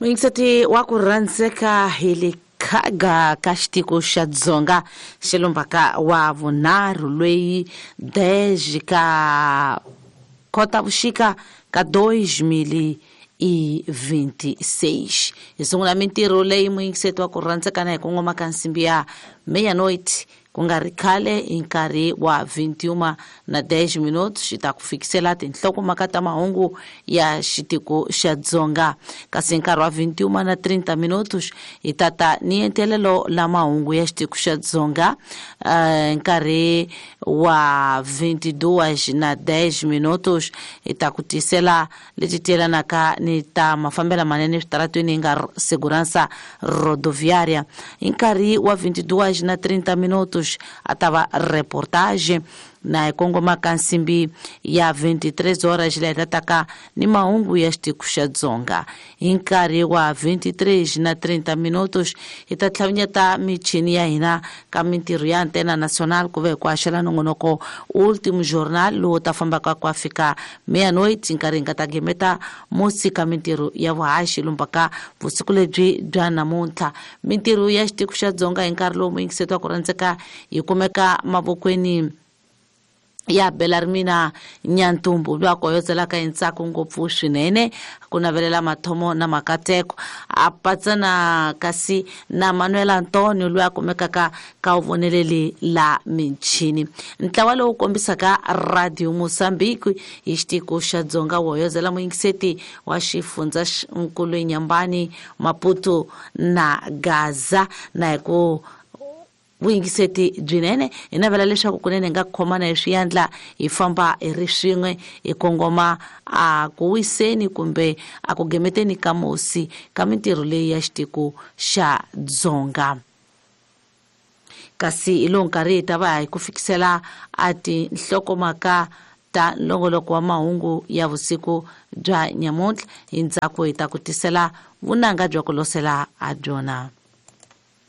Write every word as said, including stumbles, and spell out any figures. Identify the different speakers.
Speaker 1: Muyingiseti wa ku rhandzeka hi le khaga ka xitiko xa Dzonga xilombaka wa vunharhu loyi dez ka Khotavuxika ka dois mil e vinte e seis. Hi sungula mintirho leyi muyingiseti wa ku rhandzeka na hi kongoma ka nsimbi ya meia-noite ku nga ri khale hi nkarhi wa vinte e uma na dez minutos xi ta ku fikisela tinhlokomhaka ta mahungu ya xitiko xa Dzonga. Kasi hi nkarhi wa vinte e uma na trinta minutos hi tata ni entelelo la mahungu ya xitiko xa Dzonga. Uh, nkarhi wa vinte e duas na dez minutos hi ta ku tisela leti tielanaka ni ta mafambelo manene eswitaratweni hi nga segurança rodoviária. Hi nkarhi wa vinte e duas na trinta minutos a ta va reportage na hi kongoma ka nsimbi ya vinte e três horas leyi tataka ni mahungu ya xitiko xa Dzonga. Hi nkarhi wa vinte e três na trinta minutos hi ta tlhavinyeta michini ya hina ka mintirho ya Antena Nacional ku ve hi ku haxela nongonoko Último Jornal lowu ta fambaka ku fika meia-noite nkarhi hi nga ta gemeta musi ka mintirho ya vuhaxi lombaka vusiku lebyi bya namuntlha. Mintirho ya xitiko xa Dzonga hi nkarhi lowu muyingiseti wa ku rhandzeka yi kumeka mavokweni ya Belarmina Nyantumbu lwa koyozelaka hi ntsako ngopfu swinene ku navelela mathomo na makateko a patsana kasi na Manuel Antonio loyi a kumekaka ka vuvoneleli la michini. Ntlawa lowu kombisaka Radio Mozambique hi xitiko xa Dzonga wo hoyozela muyingiseti wa xifundza nkulu Nyambani, Maputo na Gaza na hi ku vuyingiseti byinene hi navela leswaku kunene hi nga khomana hi swiyandla hi famba hi ri swin'we hi kongoma a ku wiseni kumbe a ku gemeteni ka musi ka mintirho leyi ya xitiko xa Dzonga. Kasi hi lowu nkarhi hi ta va hi ku fikisela a tinhlokomhaka ta nongoloko wa mahungu ya vusiku bya nyamuntlha. Hi ndzhaku hi ta ku tisela vunanga bya ku losela ha byona.